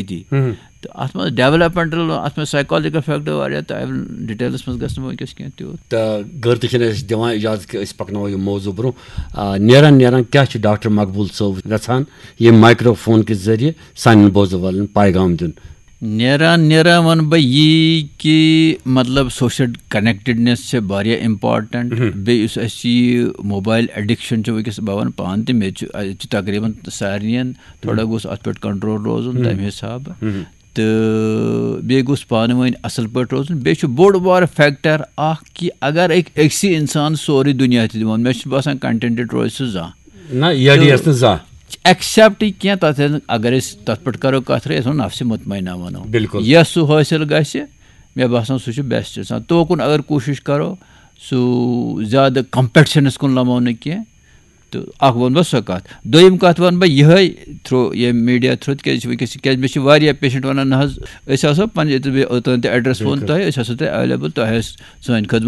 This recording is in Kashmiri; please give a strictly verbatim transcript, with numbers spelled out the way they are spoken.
أتی۔ تہٕ اَتھ منٛز ڈیولپمنٹل، اَتھ منٛز سایکالجیکل فیکٹر واریاہ، تہٕ ڈیٹیلس منٛز گژھِ نہٕ وۄنۍ وٕنکیٚس کینٛہہ تیوٗت۔ تہٕ غٲر تہِ چھِنہٕ اَسہِ دِوان اِجازت کہِ أسۍ پَکناوو یہِ موضوع برونٛہہ۔ آ، نیران نیران کیٛاہ چھُ ڈاکٹر مقبول صٲب یَژھان ییٚمہِ مایکرو فون کہِ ذٔریعہٕ سانٮ۪ن بوزَن والٮ۪ن پیغام دیُن؟ نیران نیران وَنہٕ بہٕ یی کہِ مطلب سوشل کنیکٹڈنیس چھِ واریاہ امپارٹنٹ۔ بیٚیہِ یُس اَسہِ یہِ موبایل ایڈکشن چھُ وٕنکیٚس، بہٕ وَنہٕ پانہٕ تہِ، مےٚ تہِ چھُ، یہِ چھُ تقریٖباً سارنٕے، تھوڑا گوٚژھ اَتھ پٮ۪ٹھ کنٹرول روزُن تَمہِ حسابہٕ۔ تہٕ بیٚیہِ گوٚژھ پانہٕ ؤنۍ اَصٕل پٲٹھۍ روزُن۔ بیٚیہِ چھُ بوٚڑ بار فیکٹر اکھ کہِ اگر أکۍ أکسٕے اِنسان سورُے دُنیا تہِ دِوان، مےٚ چھُنہٕ باسان کنٹینٹڈ روزِ سُہ زانٛہہ۔ نہ، یہِ اَڈِ یَس نہٕ زانٛہہ۔ ایکسیپٹ کینٛہہ، تَتھ اگر أسۍ تَتھ پٮ۪ٹھ کَرو کَتھ، أسۍ وَنو نفسِ مطمئنہ وَنو۔ بِلکُل۔ یۄس سُہ حٲصِل گژھِ، مےٚ باسان سُہ چھُ بیسٹ آسان۔ توکُن اگر کوٗشِش کَرو، سُہ زیادٕ کمپیٹشنَس کُن لَمو نہٕ کینٛہہ۔ تہٕ اَکھ وَنہٕ بہٕ سۄ کَتھ۔ دوٚیِم کَتھ وَنہٕ بہٕ یِہوٚے تھرٛوٗ ییٚمہِ میٖڈیا تھرٛوٗ، تِکیٛازِ یہِ چھِ وٕنکیٚس، کیٛازِ مےٚ چھِ واریاہ پیشنٹ وَنان، نہ حظ، أسۍ آسو پَنٕنہِ، ییٚتہِ مےٚ اوٚتام تہِ ایڈرَس ووٚن تۄہہِ، أسۍ آسو تۄہہِ ایویلیبل، تۄہہِ آسہِ سٲنۍ خدمت